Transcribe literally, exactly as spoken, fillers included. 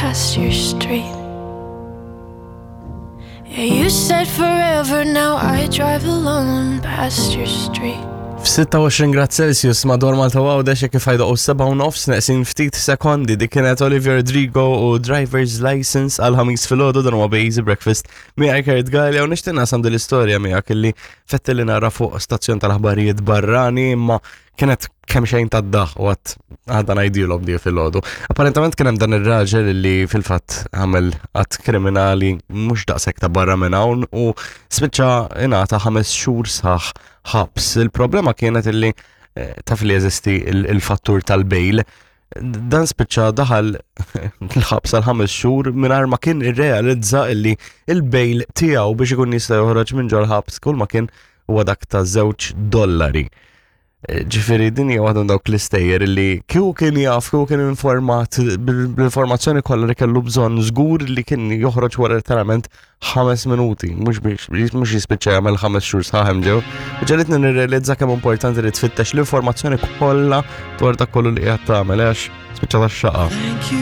past your street. Yeah, you said forever, now I drive alone past your street. F'sitta u għoxrin grad Celsius madwar Malta u Għawdex kif ħa jdoqqu sebgħa u nofs neqsin ftit sekondi. Dik kienet Olivia Rodrigo u Driver's License għal Ħamis filgħodu. Dan huwa Easy Breakfast miegħek Kurt Galea u nixtieq naqsam din l-istorja miegħek illi fetti li nara fuq stazzjon tal-aħbarijiet barrani, imma kienet kemm xejn tad-daħk u għedt għada ngħidilhom di filgħodu. Apparentament kien hemm dan ir-raġel li fil-fatt għamel att kriminali mhux daqshekk ta' barra minn hawn u spiċċa ingħata ħames xhur sħaħ ħabs. Il-problema kienet illi eh, taf li jeżisti il-fattur tal-bail. Dan spiċċa daħal l-ħabs għal ħames xhur mingħajr ma kien irrealizza illi il-bail tiegħu biex ikun jista' joħroġ minn ġol-ħabs kull ma kien huwa dak ta' żewġ dollari. Ġifieri din hija waħda dawk l-istejjer li kieku kien jaf, kieku kien informat bl-informazzjoni kollha li kellu bżonn, żgur li kien joħroġ wara literalment ħames minuti, mhux biex mhux jispiċċa jagħmel ħames xhur sħaħ hemm ġew. U ġegħlitni nirrealizza kemm importanti li tfittex l-informazzjoni kollha dwar dak kollu li qiegħed tagħmel, għax spiċċa tax-xaqa. Thank